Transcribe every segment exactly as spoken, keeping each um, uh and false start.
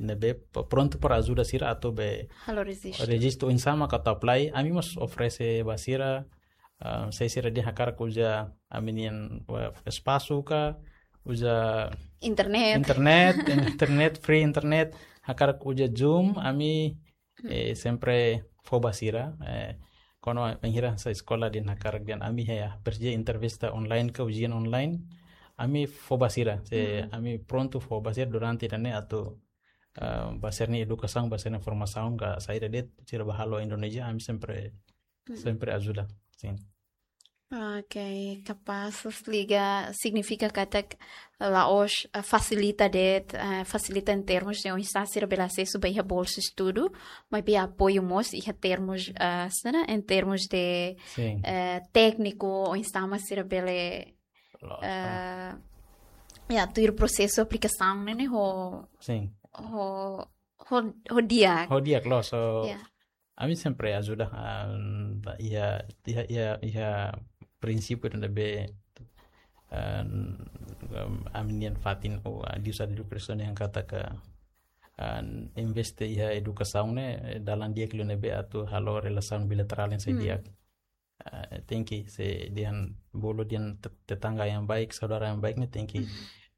ne'ebé p-, prontu para ajuda sira atu be halo rejistu. Rejistu oinsá mak atu apply, ami mós oferese ba sira, ah, se sira dehan hakarak uza ami-nian, eh, espasu ka, uza internet. Internet, internet, free internet, hakarak uza Zoom, ami, eh, sempre fó ba sira, eh, kuandu bainhira sai eskola dehan hakarak dehan ami iha presiza entrevista online ka ujian online, ami fó ba sira, se ami prontu fó ba sira durante ida-ne'e atu, ah, ba sira-nia edukasaun, ba sira-nia formasaun ka saida de'it, sira ba halo Indonézia, ami sempre, sempre ajuda, sin. Ok, kapás, liga signifika katak la'ós, ah, fasilita de'it, ah, fasilita em termos de oinsá sira bele asesu ba iha bolsa estudu, maibé apoiu mós iha termos, ah, sira, em termos de, sin, eh, tékniku, oinsá mak sira bele, loos, ah, ya, tuir prosesu aplikasaun ne'e, ne'e ho, sin, ho, ho, ho di'ak. Ho di'ak, loos, so, ya. Ami sempre ajuda, ah, iha, iha, iha, iha prinsípiu ida ne'ebé, ah, ami-nian fatin, o, ah, Deus adu Kristo ne'e hakarak, ah, investe iha edukasaun ne'e, eh, dalan di'ak liu ne'ebé atu halo relasaun bilaterál yang sai di'ak. Ah, tenke, se dehan bolu dehan te-, tetangga yang baik, saudara yang baik ne'e tenke,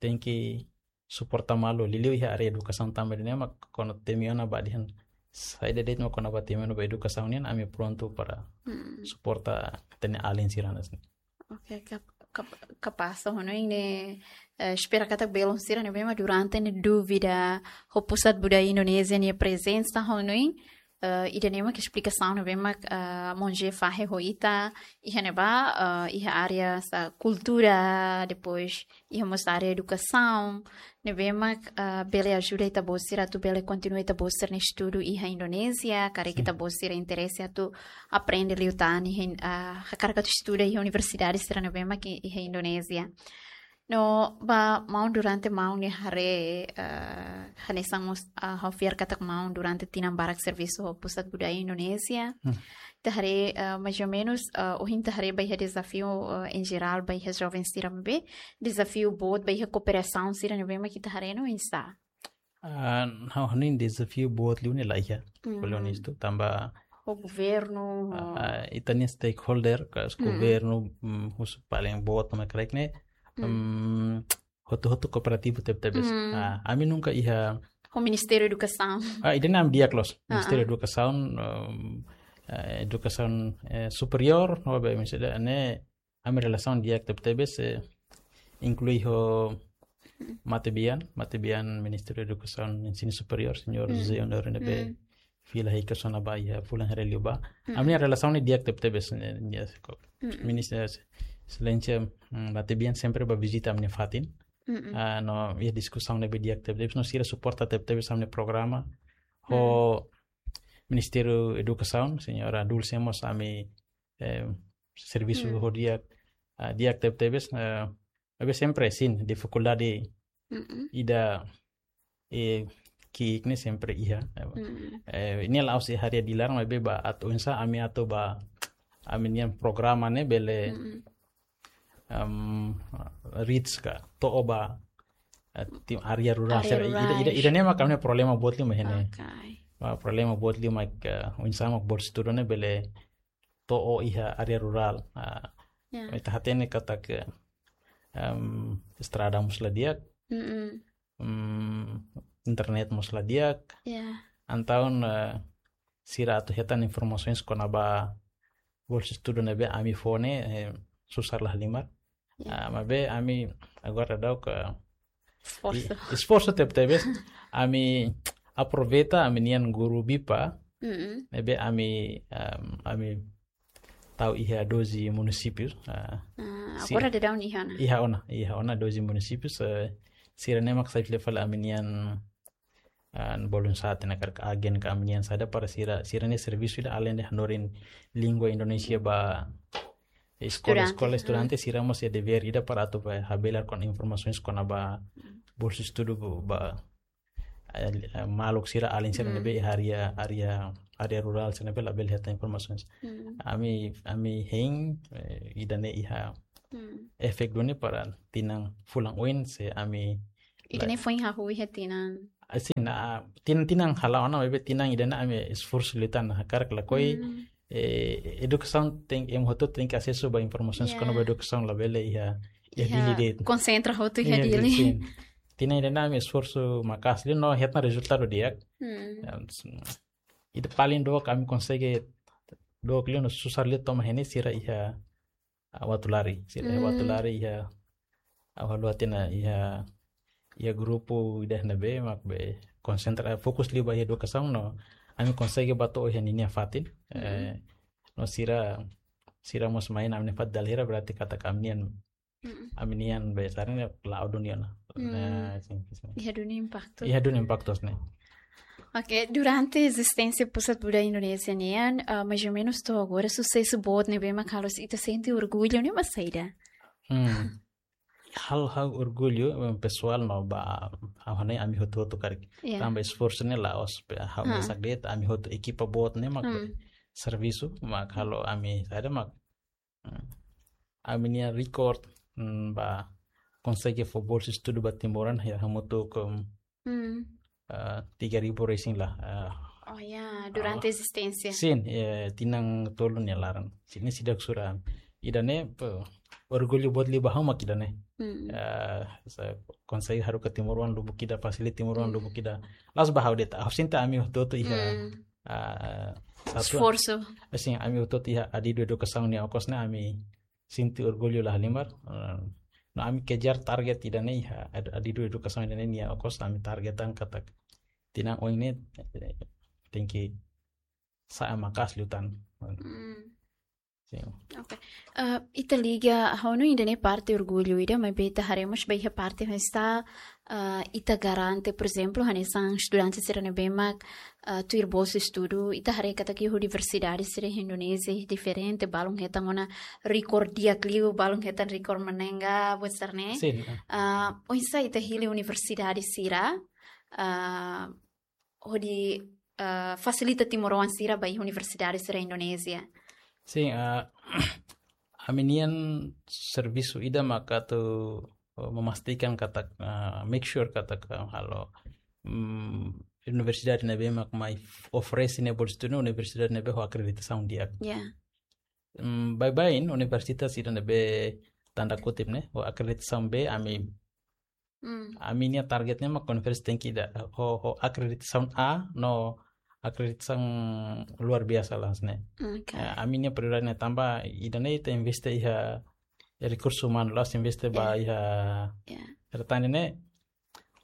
tenke suporta malu, liuliu iha área edukasaun tanba ida-ne'e mak kuandu temi ona ba dehan saida de'it mak kona-ba temi ona ba edukasaun nian, ami prontu para suporta ita-nia alin sira hanesan ne'e. Ok, kap-, kap-, kapás, ho hanoin ne'e, eh, espera katak belun sira ne'ebé mak durante ne'e dúvida ho Pusat Budaya Indonézia nia prezensa, ho hanoin, eh, ida-ne'e mak esplikasaun ne'ebé mak, eh, Monje fahe ho ita, iha ne'ebá, eh, iha área sa kultura, depois iha mós área edukasaun, ne'ebé mak, eh, bele ajuda ita-boot sira atu bele kontinua ita-boot sira-nia estudu iha Indonézia, karik ita-boot sira interese atu aprende liután iha, eh, hakarak atu estuda iha universidade sira ne'ebé mak iha Indonézia. No, ba maun durante maun nia haree, eh, hanesan mós, eh, ha'u fiar katak maun durante tinan barak servisu ho Pusat Budaya Indonézia. Ita haree, eh, mais ou menus, eh, ohin ita haree ba iha dezafiu, eh, em geral, ba iha joven sira maibé, dezafiu boot ba iha kooperasaun sira ne'ebé mak ita haree no oinsá? Ah, ha'u hanoin dezafiu boot liu ne'e la iha. Ho hanoin isto, tanba ho governu, ah, ho ah, ita-nia stakeholder, ka governu, mm, husi paling boot mak karik ne'e, mm, hotu-hotu kooperativu tebetebes. Ah, ami nunka iha ho Ministériu Edukasaun. Ah, ida-ne'e ami di'ak loos. Ah, Ministériu Edukasaun, em, eh, Edukasaun, eh, Superiór, no be misalnya ne'e ami relasaun di'ak tebetebes, eh, inklui ho Matebian, Matebian Ministériu Edukasaun Ensinu Superiór, Señór José Honório ne'ebé fila hikas ona ba iha fulan haree liubá. Ami-nia relasaun ne'e di'ak tebetebes, ne'e, ne'e, ko-, Ministra Exelénsia, mm, Matebian sempre ba vizita ami-nia fatin. Ah, no, iha diskusaun ne'ebé di'ak tebetebes, no sira suporta tebetebes ami-nia programa. Ho Ministériu Edukasaun, Señora Dulce mós ami, eh, servisu ho di'ak, ah, di'ak tebetebes, eh, maibé sempre sin difikuldade ida, eh, ki'ik ne'e sempre iha. Eh, ne'e la'ós iha área Dili laran maibé ba atu oinsá ami atu ba ami-nian programa ne'e bele, em, reach ka to'o ba, eh, tim área rurál. Área sira, ida, ida, rurál. Ida-ne'e mak ami-nia problema boot liu mak ne'e. Ok. Ba problema boot liu mak, eh, oinsá mak bolsa estudu ne'e bele to'o iha área rurál. Ah, ya. Ita hatene katak, em, estrada mós la di'ak, em, internet mós la di'ak. Ya. Entaun, eh, sira atu hetan informasaun kona-ba bolsa estudu ne'ebé ami fó ne'e, eh, susar la halimar. Ya. Ah, maibé ami agora daudaun esforsu. I-, esforsu tebetebes. Ami aproveita ami-nian guru bipa. Mm-mm. Ne'ebé ami, em, ami tau iha doze munisípius. Ah, ah, si-, agora daudaun iha ona? Iha ona, iha ona doze munisípius. Eh, sira-ne'e mak sai fila fali ami-nian, ah, bolun sat ne'e karik agen ka ami-nian saida para sira, sira-nia servisu ida alende hanorin língua Indonézia ba eskola, estudante, eskola, estudante, sira mós iha devér ida para atu ba habelar kona informasaun kona-ba bolsa estudu ba, eh, eh, maluk sira alin sira ne'ebé iha área, área, área rurál sira ne'ebé labele hetan informasaun. Ami, ami hein, eh, ida-ne'e iha efeitu duni para tinan fulan oin se ami ida-ne'e foin hahú iha tinan Asin, ah, tin-, tinan hala'o ona, maibé tinan ida-ne'e ami esforsu liután, hakarak lakohi, Hmm. eh, edukasaun tenke, ema hotu tenke asesu ba informasaun, Ya. kona-ba edukasaun labele iha, iha Iha Dili de'it. Konsentra hotu iha Iha Dili. Dili, sin. Tinan ida-ne'e ami esforsu maka'as liu no hetan rezultadu di'ak. Hmm. Em, s-, ida paling dook ami konsege, dook liu no susar liu to'o mai ne'e sira iha, ah, Uatulari. Sira iha Hmm. Uatulari iha, ah, halo atina iha, iha grupu ida ne'ebé mak be konsentra, fokus liu ba iha edukasaun no ami konsege bá to'o iha ninia fatin. Hmm. Eh, no sira, sira mós mai iha ami-nia fatin dala hira, berarti katak ami-nian Mm-mm. ami-nian be sarani la'o duni ona. Hmm. Nah, sin, sin. Iha duni impaktu. Iha duni impaktu, sin. Oke, durante ezisténsia Pusat Buda Indonézia nian, ah, mais ou menus to'o agora susesu boot ne'ebé mak halo ita sente orgullu ne'e mak saida? Hmm. Hal, hal orgullu, eh, pesoál no ba, ah, hane ami hotu-hotu karik. Ya. Tanba esforsu ne'e la'ós be ha'u Ha. mesak de'it, ami hotu ekipa boot ne'e mak Hmm. servisu, mak halo ami saida mak Hmm. Ami-nia rekorde, hmm, ba konsege fó bolsa estudu ba timoroan, ya, hamutuk, hmm, Hmm. ah, tiga ribu resin lah, ah, Oh ya, durante ah, ezisténsia. Sin, ya, tinan tolu nia laran. Sin, ne'e seidauk sura. Ida-ne'e, pe, orgullu boot liu ba ha'u mak ida-ne'e. Hmm. Ah, sa-, konsege haruka timoroan lubuk ida, fasilita timoroan Hmm. lubuk ida. La'ós ba ha'u de'it, ha'u sente ami hotu-hotu iha Hmm. ah, satu, Esforsu. Asin, ami hotu-hotu iha adidu edukasaun nia okos ne'e ami sente orgullu la halimar. Eh, no ami kejar target ida-ne'e iha ad-, adidu edukasaun ida-ne'e nia okos ami targetan katak tinan oin ne'e, eh, tenke sa'e maka'as liután. Hmm. Sin. Oke. Eh, ita liga, ha'u hanoin ida-ne'e parte orgullu ida, maibé ita haree mós ba iha parte hanesan, eh, ita garante, por ezemplu, hanesan estudante sira ne'ebé mak, eh, tuir bolsa estudu, ita haree katak iha universidade sira iha Indonézia diferente, balun hetan ona rekorde di'ak liu, balun hetan rekorde manengga, buat sira-ne'e. Sin, eh. Eh, oinsá ita hili universidade sira, eh, hodi, eh, fasilita timoroan sira ba iha universidade sira Indonézia? Sin, eh, ami-nian servisu ida maka atu, eh, memastikan katak, eh, make sure katak, eh, halo, mm, universidade ne'ebé mak mai f-, oferese nia bolsa estudu, universidade ne'ebé ho akreditasaun di'ak. Ya. Mm, baibain universitas ida ne'ebé tanda kutip ne'e, ho akreditasaun B, ami Hmm. ami-nia target ne'e mak universitas tenke ida ho, ho akreditasaun A, no akreditasaun luar biasa lah ne'e. Oke. Ya, ami-nia prioridade ne'e tanba ida-ne'e ita investe iha rekursu umanu, la'ós investe ba Ya. iha Ya. Ida-ne'e,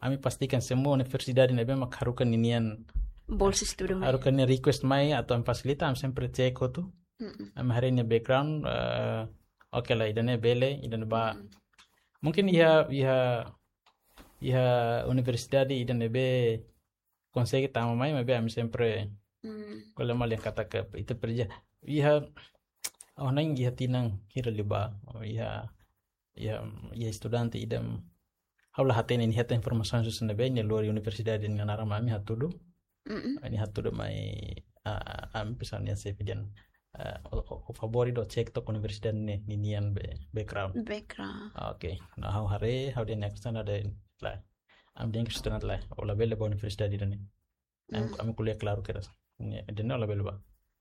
ami pastikan semua universidade ne'ebé mak haruka ninian Bolsa estudu mai. Haruka nia request mai atu ami fasilita, ami sempre cek hotu. Mm-mm. Ami haree nia background, eh, oke lah, ida-ne'e bele, ida-ne'e ba. Mm. Mungkin iha, iha, iha universidade ida ne'ebé konsege tama mai, maibé ami sempre Mm. ko'alia malu dehan katak ita presiza. Iha, oh, ha'u hanoin iha tinan hira liubá, oh, iha, iha, iha estudante ida, ha'u la hatene nia hetan informasaun husi ne'ebé, nia lori universidade nia naran mai ami hatudu. Mm-mm. Nia hatudu mai, ah, ami pesoál nia xefe dehan, ah, ó, ó, ó favór ida ó cek took universidade ne'e, ninian be, background. Background. Ah, oke. No ha'u haree, ha'u dehan nia kestaun dehan lae. Ami dehan kestaun lae. Ó labele bá universidade ida-ne'e. Ami, Mm. ami ko'alia klaru kedas. Nia dehan ó labele bá.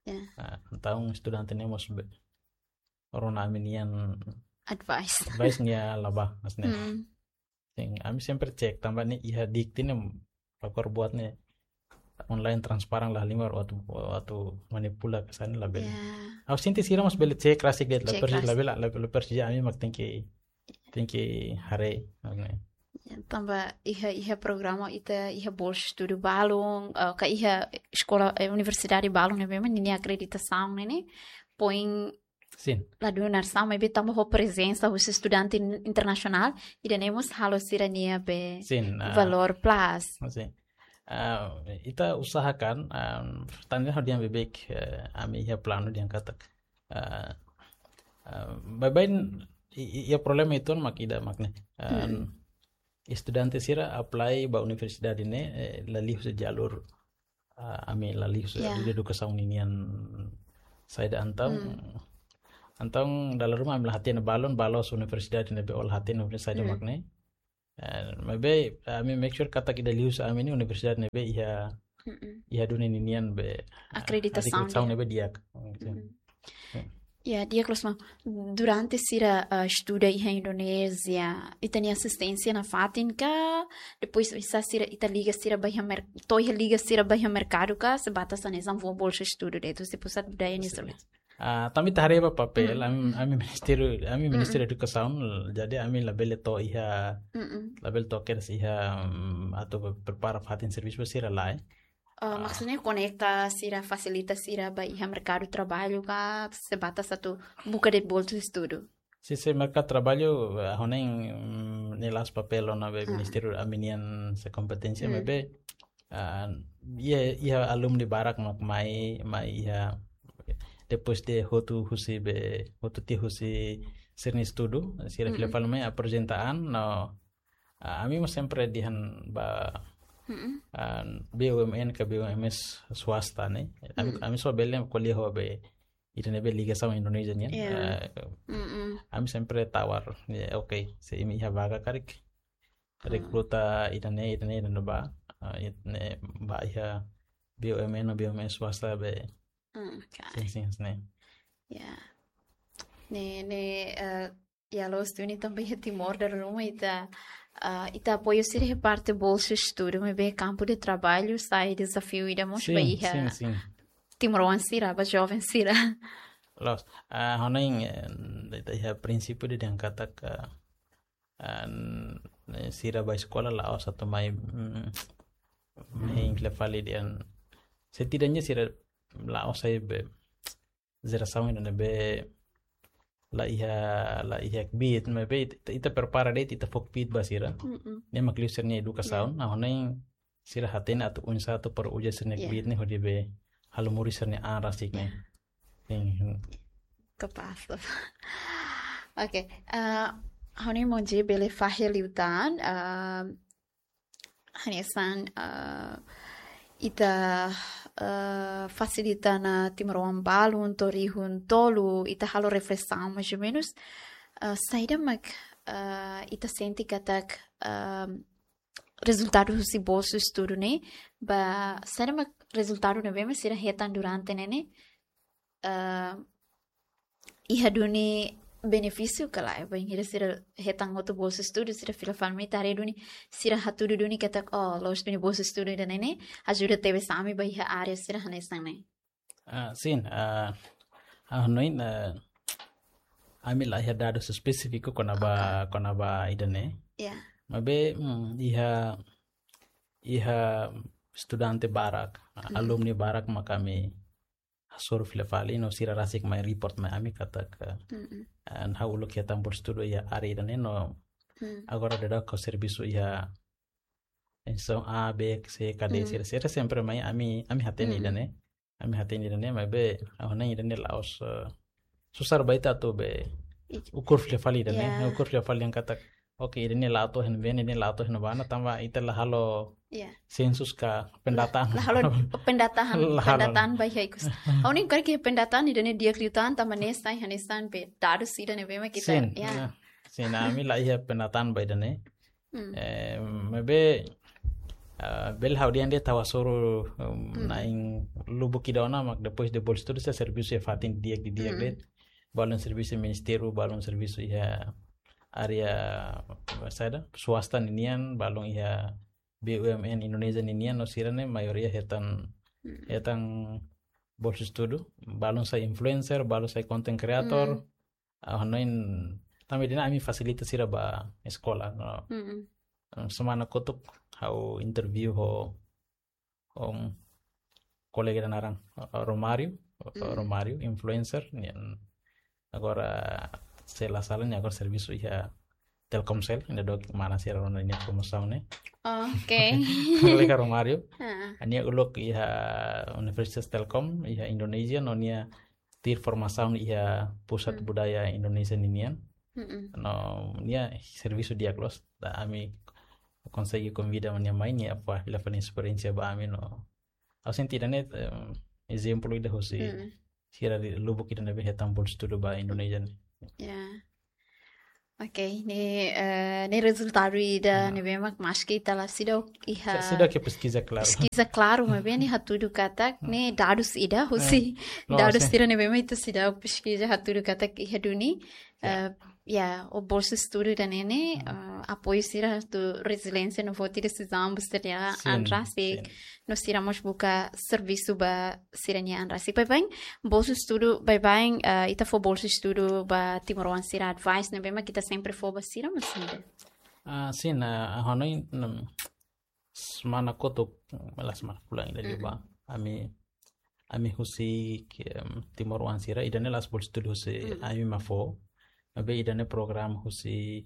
Ya. Ah, entaun estudante ne'e mós be, rona ami-nian Advice. Advice nia la bá, maksudnya. Mm. Sin, ami sempre cek, tanba ne'e iha dikti ne'e, fakor buat ne'e online transparan la halimar, atu, atu manipula kesan labele. Ya. Ha'u sente sira mós bele cek rasik de'it, la Cek presi-, rasik. labele, la, la presiza ami mak tenke, tenke haree, maksudnya. Ya, tanba iha, iha programa ita, iha bolsa estudu balun, eh, ka iha eskola, eh, universidade balun ne'ebé mak ninia akreditasaun ne'e, ne'e, poin Sin. La dún narsaun, maibé tanba ho prezensa husi estudante in-, internasionál, ida-ne'e mós halo sira-nia be Sin, ah. Valór plus. Sin. Ah, ita usahakan, ah, tanba ha'u dehan beibeik, eh, ami iha planu dehan katak. Ah, ah, baibain, i, i, iha problema uitoan mak ida mak ne'e. Ah, Hmm. estudante sira apply ba universidade ne'e, eh, la liu husi jalur ah, ami la liu husi Ya. jalur edukasaun ninian saida entaun. Hmm. Entaun dala ruma ami la hatene balun, ba loos universidade ne'ebé ó la hatene universidade Hmm. mak ne'e. Eh, maibé, ami make sure katak ida liuhusi ami ne'e universidade ne'ebé iha, iha duni ninian be, ah, akreditasaun di'ak. Akreditasaun ne'ebé di'ak. Sin. Ya, di'ak loos, maun. Durante sira, ah, estuda iha Indonézia, ita-nia asisténsia nafatin ka, depois oinsá sira, ita liga sira ba iha mer-, to'o iha liga sira ba iha merkadu ka, sebatas hanesan fó bolsa estudu de'it husi Pusat Budaya nia sira. Ah, tanba ita haree ba papél, ami, ami Ministériu, ami Ministériu Edukasaun, jadi ami labele to'o iha, labele to'o kedas iha, mm, atu prepara fatin servisu ba sira lae. Ah, maksudnya konekta sira, fasilita sira ba iha merkadu traballu ka, sebatas atu buka de'it bolsa estudu? Sin, sin, merkadu traballu, ah, ha'u hanoin, mm, ne'e la'ós papél ona be Ministériu, ami-nian sei kompeténsia, maibé, ah, iha, iha alumni barak mak mai, mai iha, depois de hotu husi be, hotu tiha husi sira-nia estudu, sira fila fali mai aprezenta an, no, ah, ami mós sempre dehan ba, ah, B U M N ka B U M S swasta ne'e. Ami, ami só bele ko'alia ho be, ida ne'ebé ligasaun Indonézia nian. Ya. Ah, ami sempre tawar, ya, oke, se imi iha vaga karik rekruta ida-ne'e, ida-ne'e, ida-ne'e ba, ah, ida-ne'e ba iha B U M N ou B U M S swasta be. Mm, oke. Sin, sin, sin. Ya. Ne'e, ne'e, eh, ya, loos duni tanba iha Timor dala ruma ita, ah, ita apoiu sira iha parte bolsa estudu, maibé kampu de traballu sai dezafiu ida mós ba iha. Sin, sin, sin. Timoroan sira, ba joven sira. Loos, ah, ha'u hanoin, eh, ita iha prinsípiu dehan katak, ah, ah, sira ba eskola la'ós atu mai, mm, mai fila fali dehan, setidaknya sira la'ós sai be jerasaun ida ne'ebé la iha, la iha kbiit, maibé ita, ita prepara de'it, ita fó kbiit ba sira. Mm-mm. Ne'e mak liu sira-nia edukasaun, ha'u hanoin sira hatene atu oinsá atu para uza sira-nia kbiit ne'e hodi be halo moris sira-nia an rasik ne'e. Sin. Kapás. Oke, ah, ha'u hanoin maun Jay bele fahe liután, ah, hanesan, ah, ita, ah, fasilita ona timoroan balun to'o rihun tolu, ita halo reflesaun mais ou menus, ah, saida mak, ah, ita sente katak, ah, rezultadu husi bolsa estudu ne'e, ba, saida mak rezultadu ne'ebé mak sira hetan durante ne'e ne'e, ah, iha duni benefísiu ka lae, bainhira sira hetan hotu bolsa estudu, sira fila fali mai ita haree duni, sira hatudu duni katak, oh, loos duni bolsa estudu ida-ne'e ne'e ajuda tebes ami ba iha área sira hanesan ne'e. Ah, sin, ah, ha'u hanoin, ah, ami la iha dadus espesífiku kona-ba, kona-ba ida-ne'e. Ya. Maibé, mm, iha, iha estudante barak, alumni barak mak ami hasoru fila fali, no sira rasik mai report mai ami katak, ah, ha'u uluk hetan bolsa estudu iha área ida-ne'e no agora daudaun ha'u servisu iha instituisaun A, B, C, ka D, sira, sira sempre mai ami, ami hatene ida-ne'e. Ami hatene ida-ne'e, maibé ha'u hanoin ida-ne'e la'ós, eh, susar ba ita atu be ukur fila fali ida-ne'e, ukur fila fali dehan katak, oke, ida-ne'e la to'o iha ne'ebé, ida-ne'e la to'o iha ne'ebá ona, tanba ita la halo sensus ka pendataan. La halo pendataan, pendataan ba iha ikus. Ha'u hanoin karik pendataan ida-ne'e di'ak liután, tanba ne'e sai hanesan be dadus ida ne'ebé mak ita. Sin, ya. Sin, ami la iha pendataan ba ida-ne'e. Eh, maibé, ah, bele ha'u dehan de'it ha'u hasoru, um, na'in lubuk ida ona mak depois de bolsa estudu sira servisu iha fatin di'ak, di'ak de'it. Balun servisu ministériu, balun servisu iha área, saida, swasta ninian, balun iha B U M N Indonézia ninian, no sira-ne'e maioria hetan, hetan bolsa estudu, balun sai influencer, balun sai content creator, ha'u hanoin tanba ida-ne'e ami fasilita sira ba eskola, no. Semana kotuk ha'u interview ho, um, kolega ida naran, uh, Romario, uh, Romario, influencer, nian agora se la sala nia agora servisu iha Telkomsel, nia dok mana sira rona nia promosaun ne'e. Oke. Kolega Romario. Nia uluk iha Universitas Telkom, iha Indonézia, no nia tuir formasaun iha Pusat Budaya Indonézia ninian. No nia servisu di'ak loos. Entaun ami konsege konvida nia mai, nia fó, nia fó nia esperiénsia ba ami no. Ha'u sente ida-ne'e, em, ezemplu ida husi sira lubuk ida ne'ebé hetan bolsa estudu ba Indonézia ne'e. Ya. Ok, ne'e, eh, ne'e rezultadu ida ne'ebé mak maski ita la seidauk iha, seidauk iha peskiza klaru, peskiza klaru, maibé ne'e hatudu katak ne'e dadus ida husi, dadus sira ne'ebé mak ita seidauk peskiza hatudu katak iha duni. Eh, ya, o bolsa estudu ida-ne'e ne'e, eh, apoiu sira atu reziliénsia no foti desizaun ba sira-nia an rasik, no sira mós buka servisu ba sira-nia an rasik. Baibain, bolsa estudu, baibain, eh, ita fó bolsa estudu ba timoroan sira, advice ne'ebé mak ita sempre fó ba sira, mas ida. Ah, sin, ah, hanoin, mm, semana kotuk, la semana fulan ida liubá. Ami, ami husi, em, timoroan sira, ida-ne'e la'ós bolsa estudu husi ami mak fó. Maibé ida-ne'e programa husi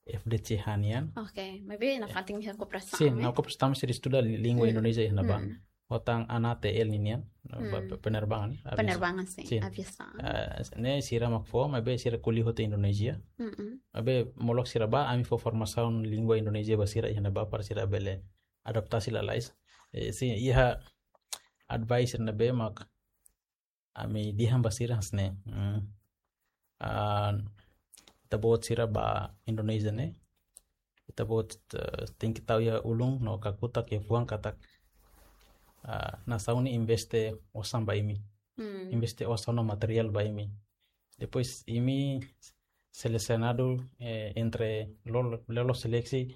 F D C H nian. Ok, maibé nafatin iha kooperasaun, sin, eh? Nafatin kooperasaun sira estuda li-, língua Indonézia iha ne'ebá. Ho tan ANATL ninian, ba, ba penerbangan, aviasaun. Penerbangan, sin, aviasaun. Eh, ne'e sira mak fó, maibé sira ko'alia hotu Indonézia. Maibé molok sira bá, ami fó formasaun língua Indonézia ba sira iha ne'ebá para sira bele adaptasi lalais. Eh, sin, iha advice ne'ebé mak ami dehan ba sira hanesan ne'e. Hmm. Ah, ita-boot sira bá Indonézia ne'e, ita-boot, eh, tenke tau iha ulun no kakutak iha fuan katak, ah, nasaun ne'e investe osan ba imi. Hmm. Investe osan no materiál ba imi. Depois imi selesionadu, eh, entre lolo, lolo seleksi,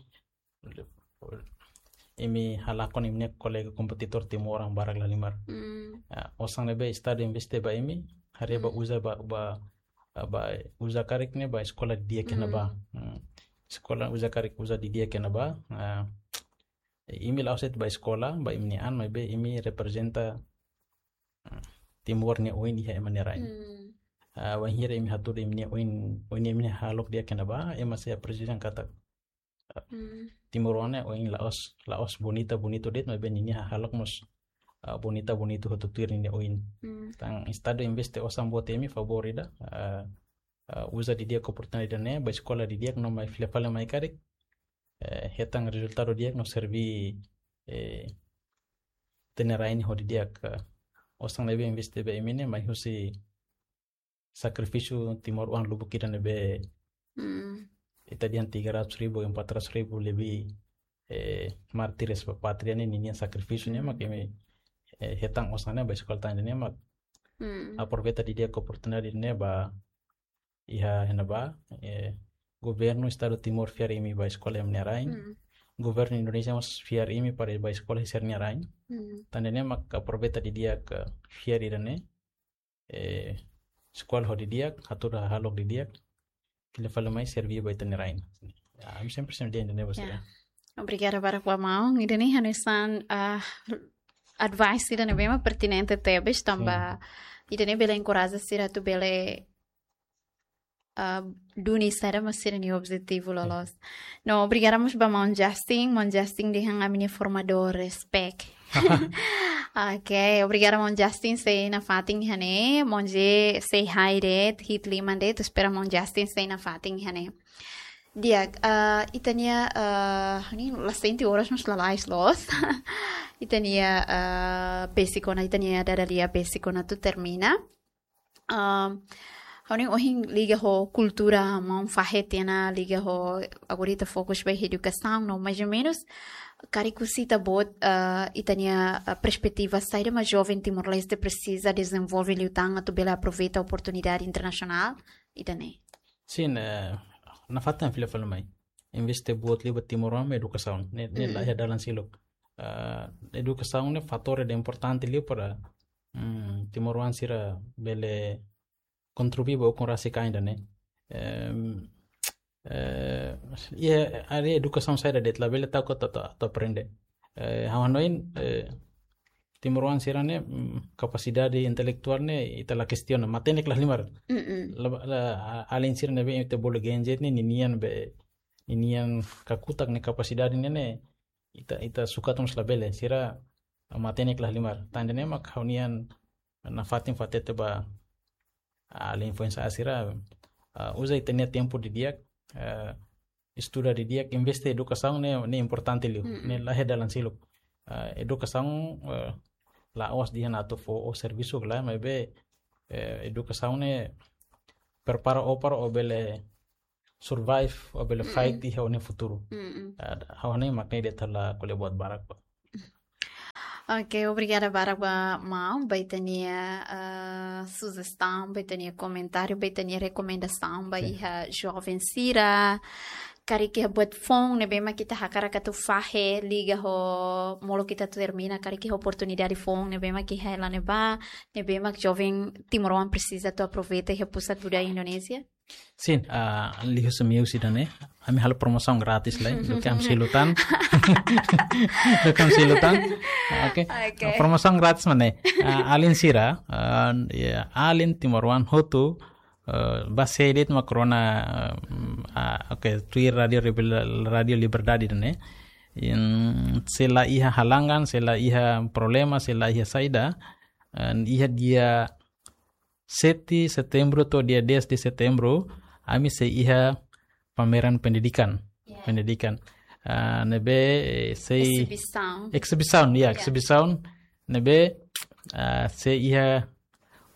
imi halakon imi-nia kolega kompetidór timoroan barak la halimar. Hmm. Ah, osan ne'ebé Estadu investe ba imi, haree bá uza ba, ba, ba uza karik ne'e ba eskola di'ak iha ne'ebá. Hmm. Eskola uza karik uza didi'ak iha ne'ebá. Ah, imi la'ós de'it ba eskola, ba imi-nia an, maibé imi reprezenta, ah, Timor nia oin iha ema nia rain. Hmm. Ah, wainhira imi hatudu imi-nia oin, oin imi-nia hahalok di'ak iha ne'ebá, ema sei apresiasi katak, ah, timoroan ne'e oin la'ós, la'ós bonita, bonitu de'it, maibé ninia hahalok mós, ah, bonita, bonitu hotu tuir ninia oin. Hmm. Tan Estadu investe osan boot iha imi, favór ida, ah, ah, uza didi'ak oportunidade ne'e, ba eskola didi'ak no mai fila fali mai karik, eh, hetan rezultadu di'ak no serve, eh, ita-nia rain ho didi'ak, eh, osan ne'ebé investe ba imi ne'e mai husi sakrifísiu timoroan lubuk ida ne'ebé, hmm, ita dehan tiga ratus ribu, empat ratus ribu lebih, eh, mártires ba pátria ne'e ninian sakrifísiu ne'e, hmm, mak imi, eh, hetan osan ne'e ba eskola tan ne'e mak, hmm, aproveita didi'ak oportunidade ne'e ba iha iha ne'ebá, eh, governu Estadu Timor fiar imi ba eskola imi-nia rain. Hmm. Governu Indonézia mós fiar imi para ba eskola sira-nia rain. Hmm. Tan ne'e mak aproveita didi'ak fiar ida-ne'e, eh, eskola ho didi'ak, hatudu hahalok didi'ak, fila fali mai serve ba ita-nia rain. Ya, ami sempre, sempre dehan ida-ne'e ba sira. Ya. Obrigada barak ba maun. Ida-ne'e hanesan, ah, advice ida ne'ebé mak pertinente tebes, tanba, sin, ida-ne'e bele enkoraja sira atu bele, ah, duni saida mak sira-nia objetivu, sin, loloos. No, obrigada mós ba maun Justin. Maun Justin dehan ami-nia formadór, respect. Ok, obrigada maun Justin sei nafatin iha ne'e. Maun J say hi de'it, hi'it liman de'it, espera maun Justin sei nafatin iha ne'e. Di'ak, ah, ita-nia, ah, ne'e la sente oras mós lalais loos. Ita-nia, ah, besik ona, ita-nia dada lia besik ona atu termina. Ah, ha'u hanoin ohin liga ho kultura, maun fahe tiha ona liga ho, agora ita fokus ba edukasaun, no, mais ou menos, karik husi ita-boot, ah, ita-nia, ah, perspetiva saida mak joven Timor-Leste presiza dezenvolve liután atu bele aproveita oportunidade internasionál ida-ne'e. Sin, eh, nafatin fila fali mai. Investe boot liu ba timoroan mak edukasaun. Ne'e, ne'e, mm, la iha dalan seluk. Ah, edukasaun ne'e fatór ida importante liu para, mm, timoroan sira bele kontribui ba ukun rasik an ida-ne'e. Em, eh, iha área edukasaun saida de'it labele ta'uk atu, atu, atu aprende. Eh, ha'u hanoin, eh, timoroan sira-ne'e, mm, kapasidade intelektuál ne'e ita la kestiona, matenek la halimar. Mm-mm. La, la, a-, alin sira ne'ebé ita bolu Gen Z ne'e, ninian be, ninian kakutak nia kapasidade ne'e, ne'e, ita, ita sukat mós labele, sira matenek la halimar. Tan ida-ne'e mak ha'u-nian nafatin fó hatete ba, ah, alin foin-sa'e sira, ah, uza ita-nia tempu didi'ak, ah, estuda didi'ak, investe edukasaun ne'e, ne'e importante liu, mm-mm, ne'e la iha dalan seluk. Ah, edukasaun, eh, la'ós dehan atu fó ó servisu ka lae, maibé, eh, edukasaun ne'e prepara ó para ó bele survive, ó bele fight iha ó-nia futuru. Ah, ha'u hanoin mak ne'e, de'it ha'u la ko'alia buat barak ba. Oke, obrigada barak ba maun, ba ita-nia, ah, sujestaun, ba ita-nia komentáriu, ba ita-nia rekomendasaun ba iha joven sira. Karik iha buat foun ne'ebé mak ita hakarak atu fahe liga ho molok ita atu termina, karik iha oportunidade foun ne'ebé mak iha hela ne'ebá, ne'ebé mak joven timoroan presiza atu aproveita iha Pusat Budaya Indonézia? Sin, ah, liuhusi imi husi ida-ne'e, ami halo promosaun gratis lai, duké ami sei lutan. Duké ami sei lutan. Oke. Oke. Promosaun gratis mak ne'e. Ah, alin sira, ah, ya, alin timoroan hotu, ah, ba sé de'it mak rona, ah, oke, tuir Radio Rebel-, Radio Liberdade ida-ne'e. Imi, se la iha halangan, se la iha problema, se la iha saida, ah, iha dia sete setembru to'o dia dez de setembru, ami sei iha pameran pendidikan. Ya. Pendidikan. Ah, ne'ebé, eh, sei exibisaun. Exibisaun, ya, ya. Exibisaun. Ne'ebé, ah, sei iha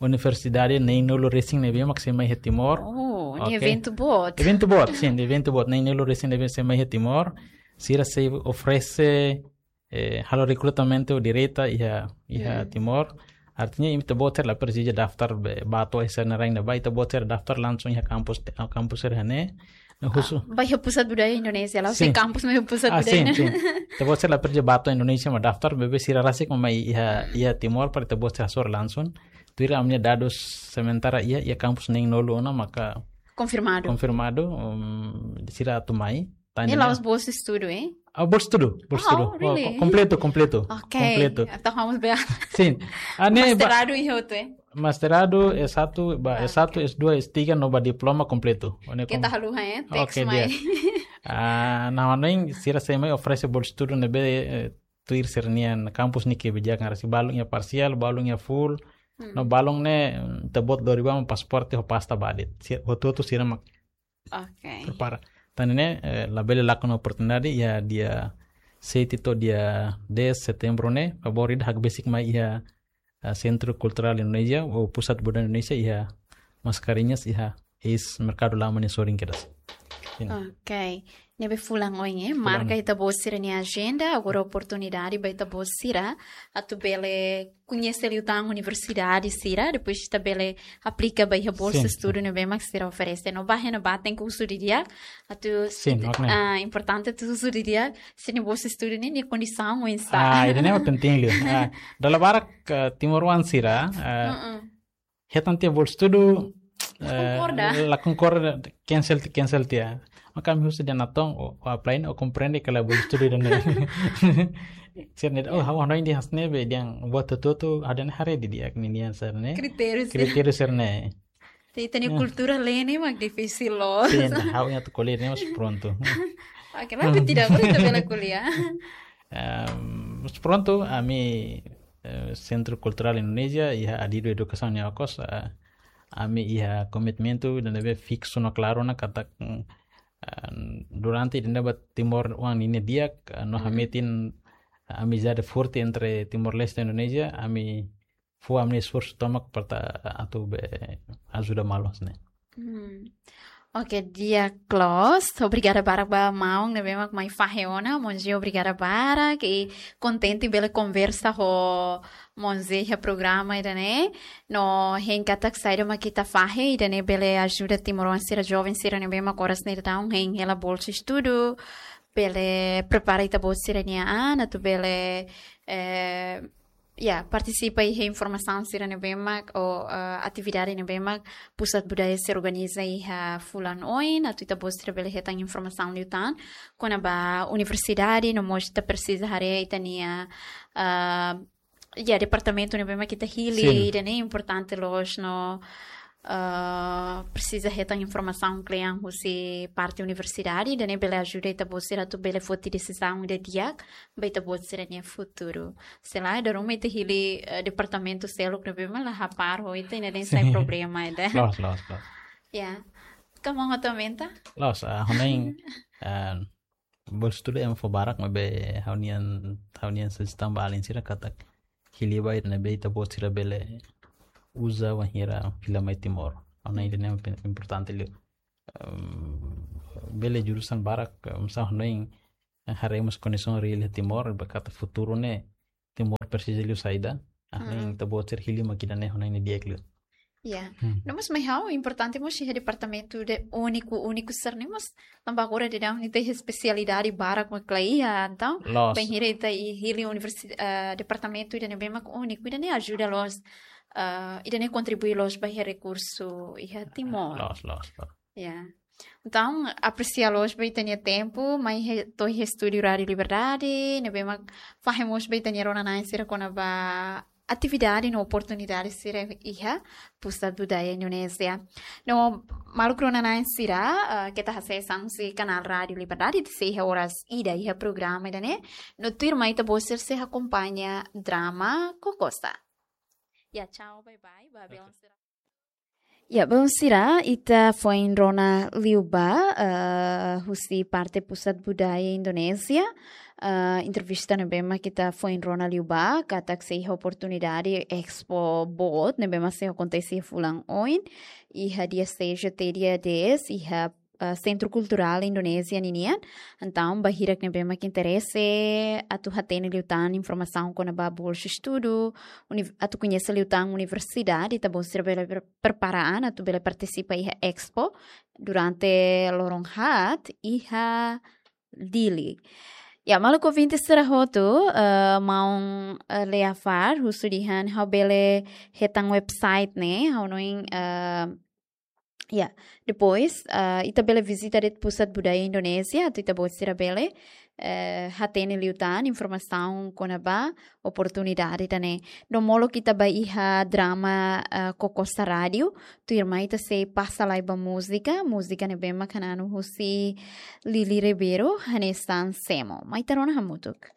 universidade neen-nulu resin ne'ebé mak sei mai iha Timor. Oh, ne'e eventu boot. Eventu boot, sin, eventu boot. Neen-nulu resin ne'ebé sei mai iha Timor. Sira sei oferese, eh, halo rekrutamentu direta iha, iha Timor. Artinya, imi ita-boot sira la presiza daftar be, ba to'o iha sira-nia rain ne'ebá, ita-boot sira daftar langsung iha kampus, kampus sira ne'e. Ne'e husu. Ah, ba iha Pusat Budaya Indonézia, la, sin. Kampus mai Pusat Budaya. Ah, sin, sin. Ita-boot sira la presiza ba to'o Indonézia mak daftar, maibé sira rasik mak mai iha, iha Timor para ita-boot sira hasoru langsung. Tuir ami-nia dadus sementara iha, iha kampus neen-nulu ona maka konfirmadu. Konfirmadu, um, sira atu mai. Ne'e la'ós bolsa estudu, eh? Ah, bolsa estudu, bolsa estudu. Oh, really? Kompletu, kompletu. Oke. Kompletu. Entaun vamos ver. Sin. Ah, ne'e ba- Mestradu iha hotu, eh? Mestradu, S satu, ba S satu, S dua, S tiga, no ba diploma kompletu. Ó ne'e. Keta haluha, eh? Oke, teks mai. Ah, ha'u hanoin sira sei mai oferese bolsa estudu ne'ebé, eh, tuir sira-nia kampus nia kebijakan, rasik balun iha parsiál, balun iha full. No balun ne'e, mm, ita-boot lori ba mak pasaporte ho pasta ba de'it. Sira, hotu-hotu sira mak prepara. Tan ne'e, eh, labele lakon oportunidade iha dia sete to'o dia dez setembru ne'e, favór ida hakbesik mai iha, eh, Sentru Kulturál Indonézia, ou Pusat Budaya Indonézia iha Mascarenhas, iha eis merkadu lama nia sorin kedas. Sin. Oke. Ne'ebé fulan oin, eh, fulan. Marka ita-boot sira-nia ajenda, agora oportunidade ba ita-boot sira atu bele koñese liután universidade sira, depois ita bele aplika ba iha bolsa estudu ne'ebé mak sira oferese. No ba iha ne'ebá tenke husu didi'ak, atu, sin, oke. Ah, importante atu husu didi'ak, sira-nia bolsa estudu ne'e, nia kondisaun oinsá. Ah, ida-ne'e mak penting liu. Ah, dala barak, eh, timoroan sira, eh, hetan tiha bolsa estudu, la konkorda, eh, la konkorda, cancel, cancel tiha. Maka ami husu dehan natoon, ó, ó apply ne'e, ó komprende katak bolsa estudu ida-ne'e. Sira ne'e, oh, ha'u hanoin dehan hanesan ne'e be, dehan buat hotu-hotu, ha'u dehan haree didi'ak ninia sira-ne'e. Kritériu sira. Kritériu sira-ne'e. Ita-nia kultura lee ne'e mak difisil loos. Sin, ha'u-nia atu ko'alia ne'e mas prontu. Oke, mas tidak, ita bele ko'alia. Ehm, mas prontu, ami, eh, Sentru Kulturál Indonézia, iha Adidu Edukasaun nia okos, eh, ami iha komitmentu ida ne'ebé fiksu no klaru ona katak, mm, eh, durante ida ne'ebá timoroan ninia di'ak, eh, no hametin amizade forte entre Timor-Leste no Indonézia, ami fó ami-nia esforsu tomak para atu be ajuda malu hanesan ne'e. Hmm. Oke, di'ak loos. Obrigada barak ba maun ne'ebé mak mai fahe ona. Maun José, obrigada barak. I kontente bele konversa ho maun José iha programa ida-ne'e. No hein katak saida mak ita fahe ida-ne'e bele ajuda timoroan sira, joven sira ne'ebé mak oras ne'e daudaun hein hela bolsa estudu. Bele prepara ita-boot sira-nia an atu bele, eh, ya, partisipa iha informasaun sira ne'ebé mak, ou, eh, atividade ne'ebé mak Pusat Budaya sei organiza iha fulan oin, atu ita-boot sira bele hetan informasaun liután kona-ba universidade, no mós ita presiza haree ita-nia, eh, ya, departamentu ne'ebé mak ita hili, sin, ida-ne'e importante loos no, eh, presiza hetan informasaun kle'an husi parte universidade, ida-ne'e bele ajuda ita-boot sira atu bele foti desizaun ida di'ak ba ita-boot sira-nia futuru. Se lae, dala ruma ita hili, eh, departamentu seluk ne'ebé mak la hapar ho ita, ida-ne'e sai, sin, problema ida. Loos, loos, loos. Ya. Ka maun atu aumenta? Loos, ah, ha'u hanoin, ah, bolsa estudu ema fó barak, maibé ha'u-nian, ha'u-nian sujestaun ba alin sira katak hili ba ida ne'ebé ita-boot sira bele uza wainhira fila mai Timor. Ha'u hanoin ida-ne'e mak importante liu. Ehm, bele jurusan barak, eh, masa hanoin, eh, haree mós kondisaun reál iha Timor, ba katak futuru ne'e Timor presiza liu saida. Hanoin, mm, ita-boot sira hili mak ida-ne'e hanoin ne'e di'ak liu. Ya. Hmm. No mós mai ha'u importante mós iha departamentu de úniku, úniku sira-ne'e mós tanba agora daudaun ita iha espesialidade barak mak la iha, entaun, loos, bainhira ita hili universi-, eh, departamentu ida ne'ebé mak úniku, ida-ne'e ajuda loos, eh, ida-ne'e kontribui loos ba iha rekursu iha Timor. Loos, loos, loos. Ya. Entaun, apresia loos ba ita-nia tempu, mai he-, to'o iha estúdiu Rádiu Liberdade, ne'ebé mak fahe mós ba ita-nia rona-na'in sira kona-ba atividade no oportunidade sira iha Pusat Budaya Indonézia. No, maluk rona-na'in sira, eh, keta hasees an husi kanál Rádiu Liberdade, ita sei iha oras ida iha programa ida-ne'e, no tuirmai ita-boot sira sei akompaña drama Kokosta. Ya, tchau, bye bye, ba, oke, belun sira. Ya, belun sira, ita foin rona liubá, eh, husi parte Pusat Budaya Indonézia. Eh, entrevista ne'ebé mak ita foin rona liubá, katak sei iha oportunidade expo boot ne'ebé mak sei akontese fulan oin, iha dia seis até dia dez, iha, eh, Sentru Kulturál Indonézia ninian. Entaun, ba hirak ne'ebé mak interese atu hatene liután informasaun kona-ba bolsa estudu, uni-, atu koñese liután universidade, ita-boot sira bele pre-, prepara an atu bele partisipa iha expo durante loron haat iha Dili. Ya, maluk ouvinte sira hotu, eh, maun, eh, Leafar, husu dehan ha'u bele hetan website ne'e, ha'u hanoin, eh, ya, depois, eh, ita bele vizita de'it Pusat Budaya Indonézia, atu ita-boot sira bele, eh, hatene liután informasaun kona-ba oportunidade ida-ne'e. No molok ita bá iha drama, eh, Kokosta Rádiu, tuirmai ita sei pasa lai ba múzika, múzika ne'ebé mak hananu husi Lili Ribeiro, hanesan Semo. Mai ita rona hamutuk.